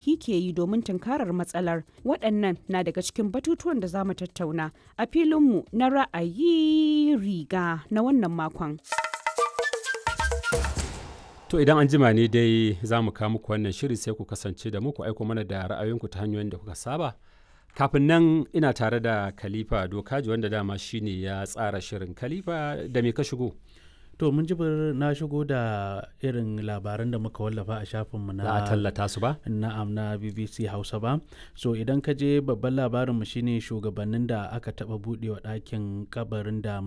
Ke yi domin tunkarar matsalar? Waɗannan na daga cikin batutuwan da za mu tattauna a filinmu na ra'ayi riga na wannan makon. To idan an jima ne dai za mu kawo muku wannan shiri, sai ku kasance da mu, ku aiko mana da ra'ayoyinku ta hanyoyin da kuka saba. Kafin nan ina tare da Khalifa Dokaji, wanda dama shine ya tsara shirin. Khalifa, da me ka shigo? To mun jibir, na shigo da irin labaran da muka wallafa a shafinmu na Za a tallata su ba? Na'am, na BBC Hausa ba. So idan ka je, babban labarinmu shine shugabannin da aka taba budewa ɗakin kabarin da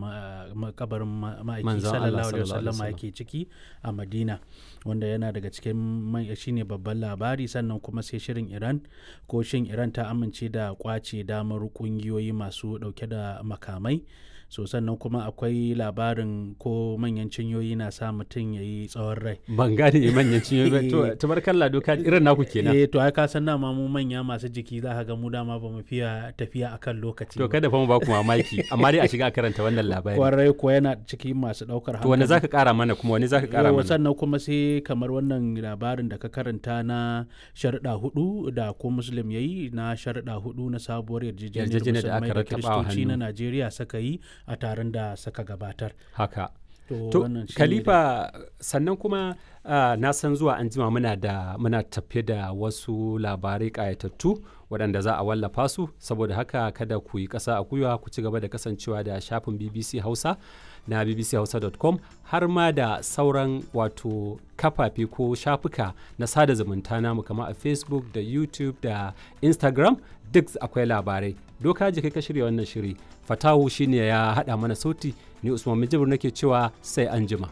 kabarin ma'aiki Manzon Allah sallallahu alaihi sallallahu alaihi wasallam yake ciki a Madina, wanda yana daga cikin shine babban labari. Sannan kuma sai shirin Iran, ko shin Iran ta amince da kwace damar kungiyoyi masu dauke da makamai. So sannan kuma akwai labarin ko manyan cinyoyi na sa mutum ya yi tsawon rai. Ban gane manyan cinyoyi ba. To tabarkalla Dokaji, irin naku kenan. Eh, to ai ka san dama mu manya masu jiki za ka ga mu dama ba mu fiya tafiya akan lokaci To ba. kada fa mu ba ku mamaki, amma dai a shiga a karanta wannan labari. Kwarai ko, yana cikin masu daukar To wani hankali. zaka kara mana kuma, wani zaka kara Yawwa, mana? sannan kuma sai kamar wannan labarin da ka karanta na sharuɗa hudu da ko Muslim ya yi, na sharuɗa hudu na sabuwar yarjejeniyar Yarjejeniyar da musulmai aka da rattabawa kiristoci na hannu. Najeriya suka yi a taron da suka gabatar. Haka. To To, wannan shine. Khalifa, sannan kuma na san zuwa an jima muna tafe da wasu labarai ƙayatattu waɗanda za a wallafa su. Saboda haka kada ku yi ƙasa a gwiwa, ku ci gaba da kasancewa da shafin BBC Hausa na bbchausa.com, har ma da sauran wato kafafe ko shafuka na sada zumunta namu kamar a Facebook da YouTube da Instagram, duk akwai labarai. Doka ji kai ka shirya wannan shiri, Fatawu shine ya haɗa mana sauti, ni Usman Mijibir nake cewa sai an jima.